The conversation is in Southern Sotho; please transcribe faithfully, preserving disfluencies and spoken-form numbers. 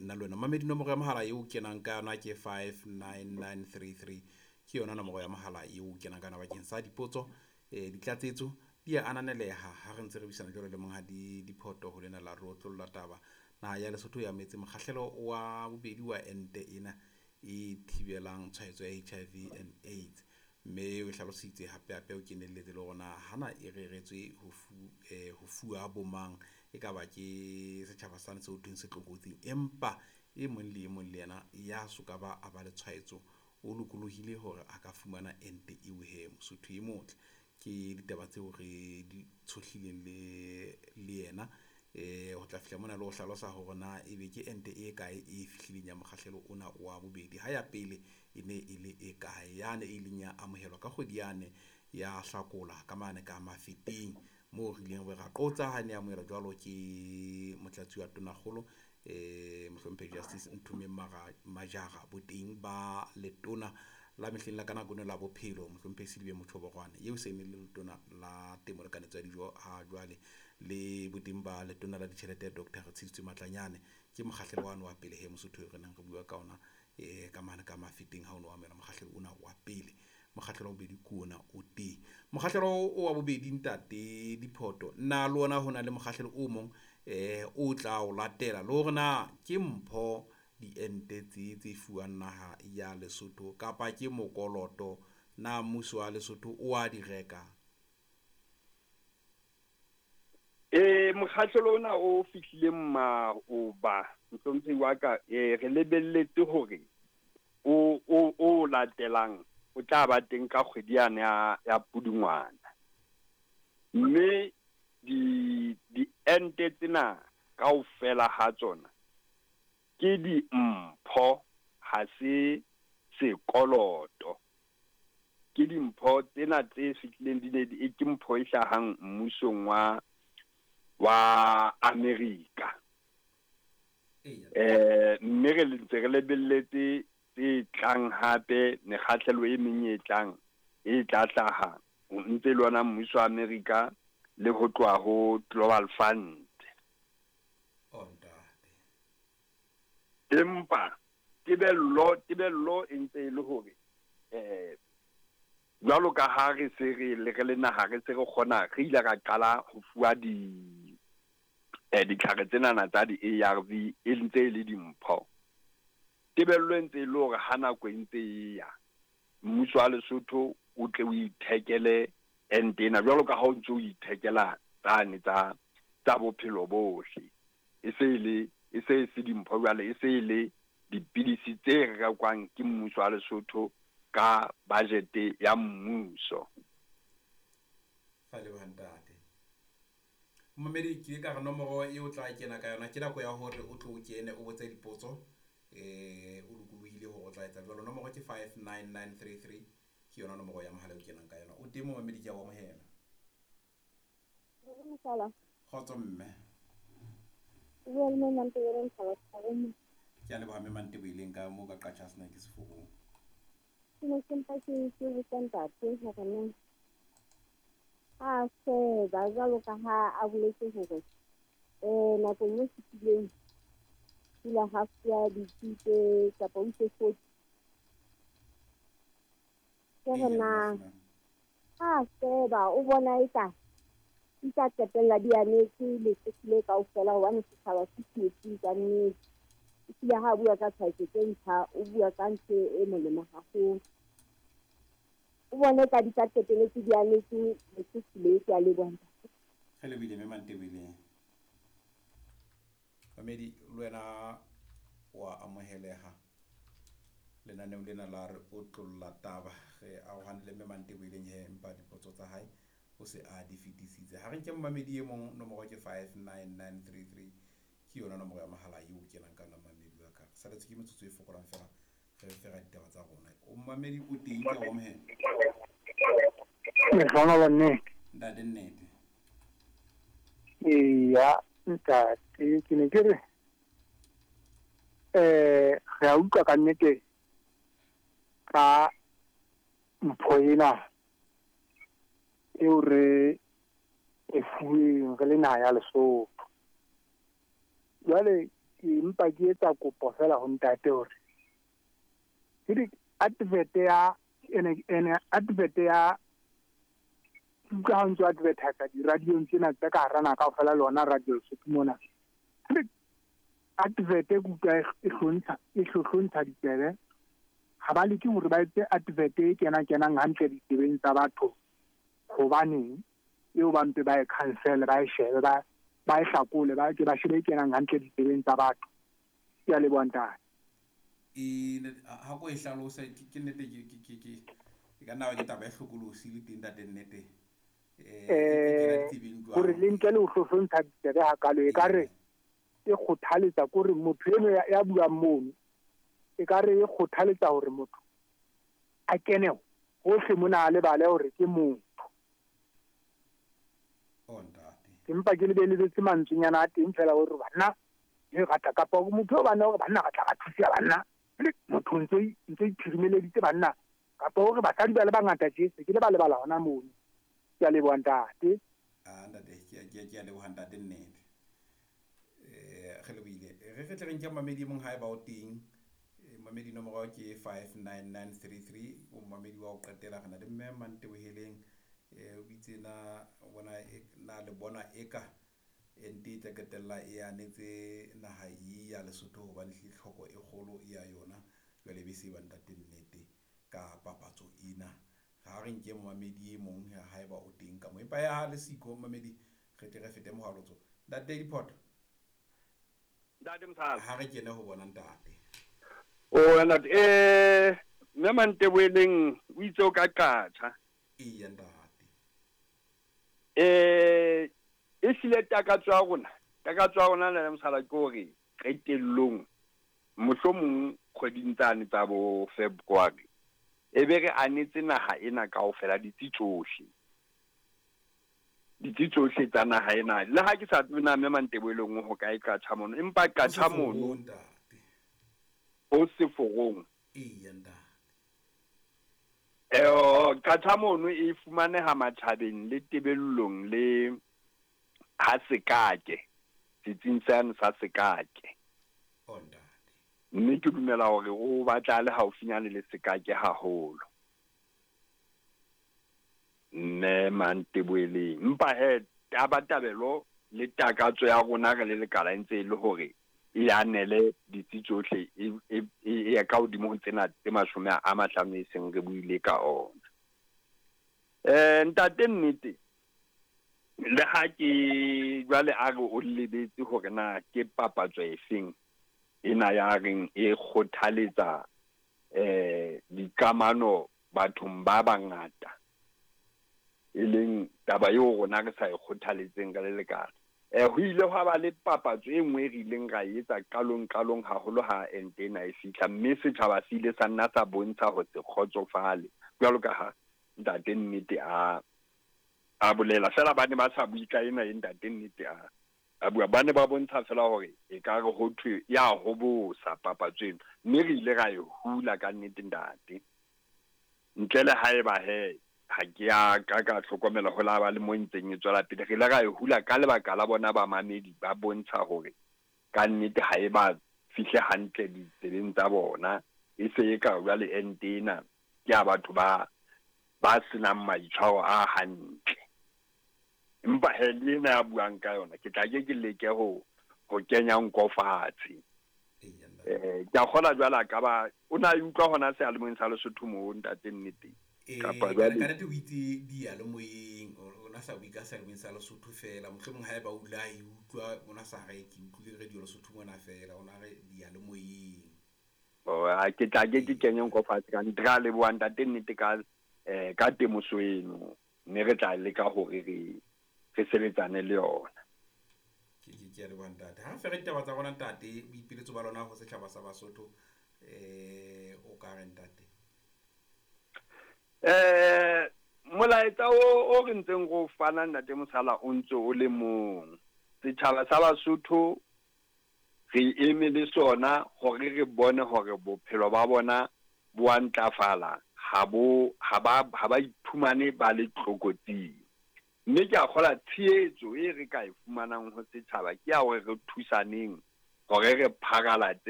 nna le wena. Mamedi, nomoro ya mohala eo kenang ka yona ke five nine nine three three, ke yona nomoro ya mohala eo kenang ka yona bakeng sa dipotso, eh ditlatsetso di a ananeleha ha re ntse re buisana jwalo le monghadi Diphoto ho lena la re otlolla taba. Naha ya Lesotho ya metse mokgahlelo wa bobedi wa ente ena e thibelang tshwaetso ya H I V and AIDS, mme o hlalositse hape hape o kenelletse le hore na hana e reretswe ho fu, eh, ho fuwa bomang, e ka ba ke setjhaba sane seo thweng se tlokotsing, empa e mong le e mong le yena ya soka ba a ba le tshwaetso o lokolohile hore a ka fumana ente eo he. Mosotho e motle, ke ditaba tseo re di tshohlileng le le yena eh ho tla fihla mona le ho hlalosa hore na ebe ke ente e kae e fihlileng ya mokgahlelo ona wa bobedi, ha ya pele e ne e le e kae yane e ileng ya amohelwa ka kgwedi yane ya Hlakola ka mane ka Mafeteng, moo re ileng ra qotsa ha ne amohelwa jwalo ke motlatsi wa Tonakgolo eh mohlomphehi Justice Nthomeng Majara, boteng ba letona la mehleng la ka nako eno la bophelo mohlomphehi Selibe Mothoborwane eo se neng le letona la temo le kanetso ya dijo ha jwale, le boteng ba letona la ditjhelete Doctor Retshiditswe Matlanyane. Ke mokgahlelo wa wa pele he Mosotho re neng re bua ka ona eh ka mane ka Mafeteng ha ono amohela mokgahlelo ona wa pele. Mokgahlelo wa bobedi ke ona o teng. Mokgahlelo o wa bobedi ntate Diphoto, na le ona hona le mokgahlelo o mong eh o tla o latela le hore na ke mpho diente tse tse fuwang naha ya Lesotho kapa ke mokoloto, na mmuso wa Lesotho o a di reka? Eh mokgahlelo ona o fihlileng maoba mohlomphehi wa ka, eh re lebelletse hore o o o latelang o tla ba teng ka kgwedi yane ya ya Pudungwana, mme di diente tsena kaofela ha tsona ke dimpho, ha se sekoloto. Ke dimpho tsena tse fihlileng di ne di ke mpho e hlahang mmusong wa wa Amerika. Eh mme re ntse re lebelletse tse tlang hape, mekgahlelo e meng e tlang e tla hlaha ntse le ona mmuso wa Amerika le ho tloha ho Global Fund. Empa tebello tebello e ntse e le hore eh jwalo ka ha re se re le re le naha re se re kgona, re ile ra qala ho fuwa di eh ditlhare tsenana tsa di A R V e ntse e le dimpho. Tebello e ntse e le hore ha nako e ntse e ya mmuso wa Lesotho o tle o ithekele ente ena jwalo ka ha o ntse o ithekela tsane tsa tsa bophelo bohle, e se le e se se dimpho jwale, e se le dipidisi tse rekwang ke mmuso wa Lesotho ka budget ya mmuso. Fa le ntate momedi, ke ka re nomoro e o tla kena ka yona ke nako ya hore o tlo kene o botse dipotso, eh o lokolohile hore o tla etsa jwalo. Nomoro ke five nine nine three three, ke yona nomoro ya mohala o kenang ka yona. O teng momedi, ke a o amohela. Kgotso mme. Ke a leboha mme Manteboileng ka moo ka Qacha's Nek seforong. Ke ne ke mpa ke ke botsa ntate hore na a sheba jwalo ka ha a boletse hore eh nakong e fetileng ile ha fuwa dithuto kapa o itse forty. Ke re na ha sheba o bona eka di tla qetella di anetse Lesotho le kaofela, hobane setjhaba se tsietsing ka nnete. Ebile ha bua ka tshwaetso tse ntjha, o bua ka ntho e molemo haholo. O bone ka di tla qetelletse di anetse Lesotho le, ke a leboha. Re lebohile mme Manteboileng. Mamedi, le wena wa amoheleha lenaneong lena la re otlolla taba. Re arohane le mme Manteboileng he, empa dipotso tsa hae o se a di fetisitse. Ha re nke momamedi e mong, nomoro ke five nine nine three three, ke yona nomoro ya mohala eo kenang ka yona momamedi wa ka. Re saletswe ke metsotso e fokolang fela re fera ditaba tsa rona. O momamedi o teng, ke a o amohela. Lehlohonolo nnete. Ntate nnete. Eya ntate, ke ne ke re eh re a utlwa ka nnete ka mpho ena eo re e fuweng re le naha ya Lesotho. Jwale Ke mpa ke etsa kopo fela ho ntate hore ke di advert ya ene ene advert ya utlwa ha ntso advertise di-radiong tsena tsa ka hara naha kaofela le hona radio Lesotho mona. Advert e ke utlwa e hlontsha e hlohlontsha ditsebe. Ha ba leke hore ba etse advert e kena kenang hantle ditsebeng tsa batho. Hobaneng eo ba mpe ba e cancel ba e shebe ba ba e hlakole ba ke ba shebe e kenang hantle ditsebeng tsa batho. Ke a leboha ntate. E ha ko e hlalose ke nnete ke ke ke ke ka nna ke taba e hlokolosi le teng ntate nnete. Eh hore le ntle le ho hlohlontsha ditsebe hakalo e ka re e kgothaletsa kore motho eno ya buang mono e ka re e kgothaletsa hore motho a kene hohle mona a lebale hore ke motho. Oh ntate. Ke mpa ke lebeletse mantswenyana a teng fela hore banna e rata kapa motho o bana hore banna re tla ra thusa banna le motho ntse ntse iphirimeleditse banna kapa hore basadi ba le bangata tje se ke le ba lebala hona mono. Ke a leboha ntate. Ah ntate ke ke ke a leboha ntate nnete. Eh re lebohile. Re re tle re nke mamedi mong haeba o teng. Mamedi nomoro ke five nine nine three three o mamedi wa o qetela re na le mme Manteboheleng eh o bitse na bona na le bona eka ente e tla qetella e anetse naha e ya Lesotho hobane tlhoko e kgolo ya yona jwale be se ba ntate nnete ka papatso ena. Ha re nke mamedi e mong haeba o teng ka mo empa ya le siko mamedi re tle re fete mohalotso. Ntate Diphoto. Ntate Mosala. Ha re kene ho bona ntate. O ntate eh mme Manteboheleng o itse o ka qatjha. Eya ntate. Eh e hlile takatso ya rona, takatso ya rona le Mosala ke hore qetellong mohlomong kgweding tsane tsa bo February e be re anetse naha ena kaofela ditsi tsohle. Ditsi tsohle tsa naha ena. Le ha ke sa tsebe na mme Manteboheleng ho kae qatjha mono, empa qatjha mono o seforong. Eya ntate. Eh qatjha mono e fumaneha matjhabeng le tebellong le ha sekake setsing sane sa sekake. Oh ntate. Mme ke dumela hore o batla le haufinyane le sekake haholo. Mme Manteboheleng mpa he tabatabelo le takatso ya rona re le lekala ntse e le hore e anele ditsi tsohle e e ya ka hodimo ho tsena tse mashome a mahlano e seng re buile ka ona. Eh ntate nnete le ha ke jwale a re o lebetse hore na ke papatso efeng ena ya reng e kgothaletsa eh dikamano bathong ba bangata e leng taba eo rona re sa e kgothaletseng ka le lekala. Eh ho ile hwa ba le papatso e nngwe re ileng ra etsa qalong qalong haholo ha ente ena e fihla mme setjhaba se ile sa nna sa bontsha ho se kgotsofale jwalo ka ha ntate nnete a a bolela fela ba ne ba sa bue ka ena e ntate nnete a a bua ba ne ba bontsha fela hore e ka re ho thwe ya hobosa papatso eno mme re ile ra e hula ka nnete ntate ntle le haeba he ha ke a ka ka hlokomela ho la ba le mo ntseng e tswela pele re ile ra e hula ka lebaka la bona ba mamedi ba bontsha hore ka nnete ha e ba fihle hantle ditsebeng tsa bona e se e ka jwale ente ena ke ya batho ba ba senang maitshwaro a hantle. Empa he le ena ya buang ka yona ke tla ke ke leke ho ho kenya nko fatshe. Eh ke a kgola jwale ka ba o na e utlwa hona seyalemoyeng sa Lesotho moo ntate nnete. Kapa jwale ka nnete o itse diyalemoyeng o na sa bue ka seyalemoyeng sa Lesotho fela mohlomong haeba o la e utlwa o na sa re ke utlwile radio Lesotho mona fela o na re diyalemoyeng. Oh a ke tla ke ke kenye nko fatshe ka nnete ra leboha ntate nnete ka eh ka temoso eno mme re tla leka hore re re sebetsane le yona. Ke ke ke a leboha ntate. Ha re ditaba tsa rona ntate boipiletso ba lona ho setjhaba sa Basotho eh o ka re ntate. Eh molaetsa o o re ntseng go fana ntate Mosala o ntse o le mong. Setjhaba sa Basotho re eme le sona hore re bone hore bophelo ba bona bo a ntlafala ha bo ha ba ha ba iphumane ba le tlokotsing. Mme ke a kgola tshehetso e re ka e fumanang ho setjhaba ke ya hore re thusaneng Hore re pharalatse